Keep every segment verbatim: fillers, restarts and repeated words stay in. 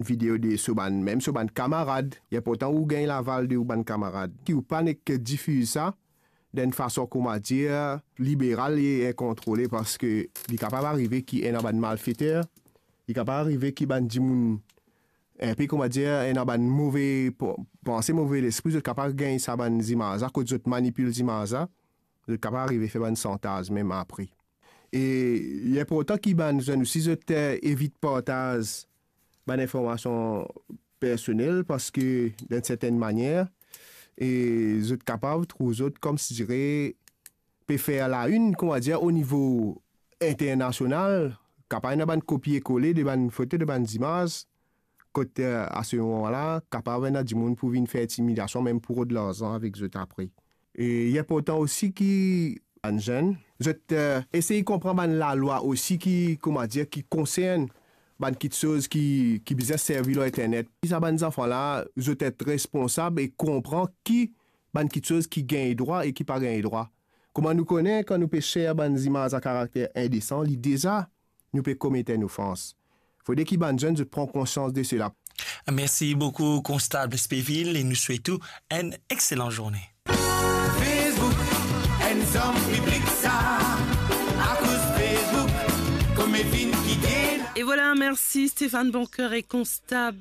video de so bann, mem so bann kamarad. Li inportan ou gagn laval de ou bann kamarad, ki ou pa nek difiz sa dan enn fason, kouma dir, liberal e inkontrole, parski li kapav arive ki ena bann malfeter, li kapav arive ki bann dimoun inpe, kouma dir, ena bann move p-, panse, move lespri, zot kapav gagn sa bann zimaz la, kot zot manipil zimaz la, zot kapav arive fer bann santaz mem apre. E li inportan ki bann zenn osi, zot, eh, evit partaz bann informasion personel, parski, dan enn sertenn manier, e zot kapav trouv zot, kouma dire, pe fer lainn, kouma dir, o nivo internasional, kapav ena bann kopie-kole de bann foto, de bann zimaz, kot, eh, a se moman la, kapav ena dimoun pou vinn fer intimidasyon, mem pou rod larzan avek zot apre. E li inportan osi ki bann zenn, zot, eh, esey konpran bann lalwa osi ki, kouma dir, ki konsern bann kiksoz ki, ki bizin servi lor internet. Sa bann zanfan la, zot et responsab e konpran ki bann kiksoz ki gagn drwa e ki pa gagn drwa. Kouma nou kone, kan nou pe share bann zimaz a karakter indesan, li deza nou pe komet enn ofans. Fode ki bann zenn zot pran konsians de sela. Mersi boukou, Konstab Speville, e nou swet ou enn exelan zourne. Facebook, enn zom piblik sa, akoz Facebook, kouma finn kite. E vwala, mersi Stéphane Boncoeur e Konstab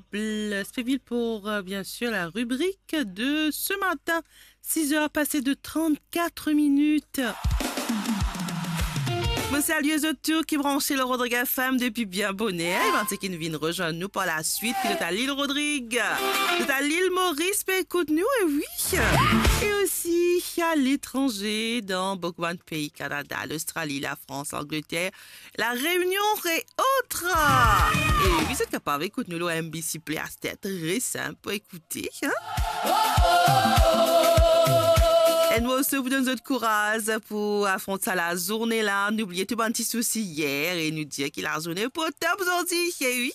Speville pour, euh, bien sûr, la rubrique de ce matin. Six heures passées de trente-quatre minutes. Mo salye zot tou ki branche lor Rodrig F M depi bien boner. E bann seki vinn rezwenn nou par laswit, ki zot a Lil Rodrig, zot a Lil Moris, pe ekout nou, e wi. E osi a letranze, dan boukou bann pei, Kanada, Lostrali, Lafrans, Langleter, La Réunion e otra. E wi, zot kapav ekout nou lor M B C Play aster, tre sinp pou ekoute, hein? Enn morso pou donn zot kouraz pou afront sa lazourne la. Noubliye tou bann ti sousi yer e nou dir ki lazourne pou top zordi, e wi.